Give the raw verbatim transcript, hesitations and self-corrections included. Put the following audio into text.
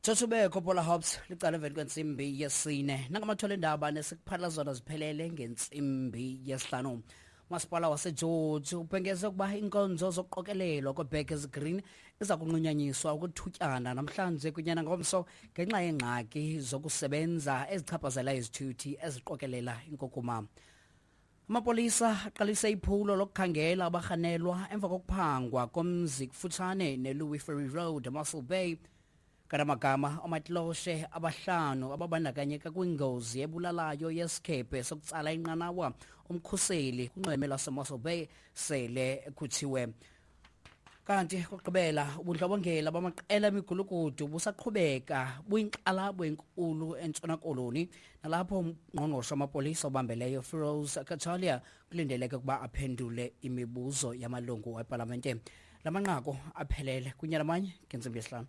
Tsotsubekho Paula Hobbs licala emveni kwentsimbi yesine. Nangamathola endaba nesikuphatha zona ziphelele ngentsimbi yesihlanu. Umasipala waseGeorge ubhengeze ukuba iinkonzo zokuqokelelwa kweBurgers Green iza kunqunyanyiswa ukuthutyana namhlanje kunyana ngomso ngenxa yeengxaki zokusebenza ezichaphazela izithuthi eziqokelela inkukuma. Amapolisa aqalise iphulo lokukhangela abarhanelwa emva kokuphangwa komzi kufutshane neLouis Ferry Road, Mossel Bay. Kanamagama omatiloshe abahlanu ababandakanyeka kwingozi ebulalayo yesikhephe sokutsala inqanawa umkhuseli kunxweme lwaseMossel Bay sele ekhutshiwe. Kanti kokugqibela, ubundlobongela bamaqela emigulukudu busaqhubeka buyinkxalabo enkulu eNtshona Koloni, nalapho umngqongqoshe wamapolisa obambeleyo Firoz Cachalia kulindeleke ukuba aphendule imibuzo yamalungu epalamente. La manqaku aphelele kunye namanye ngentsimbi yesihlanu.